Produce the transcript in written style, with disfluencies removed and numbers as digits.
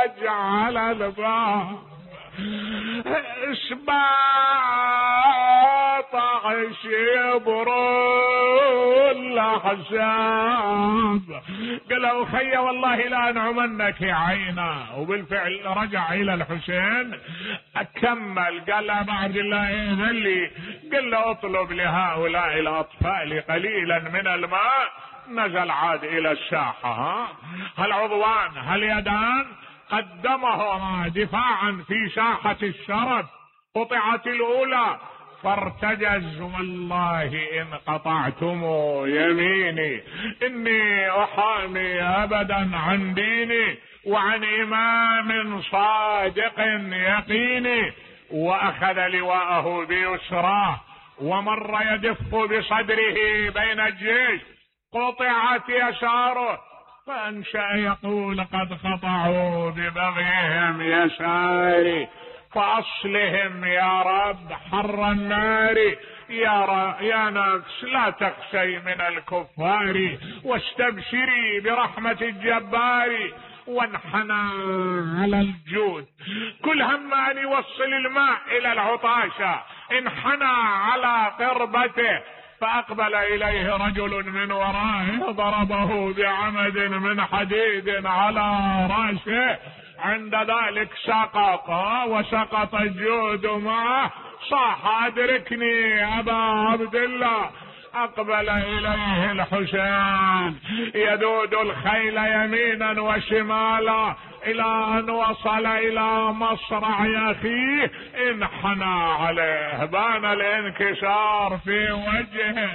فرتج على الباب اشباط يبرو الاحزاب. قالوا خي والله لا نعمنك عينا. وبالفعل رجع الى الحسين اكمل. قال له بعد الله اذن لي، قال له اطلب لهؤلاء الاطفال قليلا من الماء. نزل عاد الى الساحة. هالعضوان هاليدان قدمهما دفاعا في ساحة الشرف. قطعت الاولى فارتجز والله ان قطعتم يميني اني احامي ابدا عن ديني وعن امام صادق يقيني. واخذ لواءه بيسراه ومر يدف بصدره بين الجيش. قطعت يساره فانشأ يقول قد خطعوا ببغيهم يساري فاصلهم يا رب حر النار. يا نفس لا تخشي من الكفار واستبشري برحمة الجبار. وانحنى على الجود كل هم ان يوصل الماء الى العطاشة. انحنى على قربته فأقبل إليه رجل من ورائه ضربه بعمد من حديد على رأسه. عند ذلك سقط وسقط الجود معه. صاح أدركني أبا عبد الله. أقبل إليه الحسين يدود الخيل يمينا وشمالا إلى أن وصل إلى مصرع أخيه. انحنى عليه بان الانكسار في وجهه.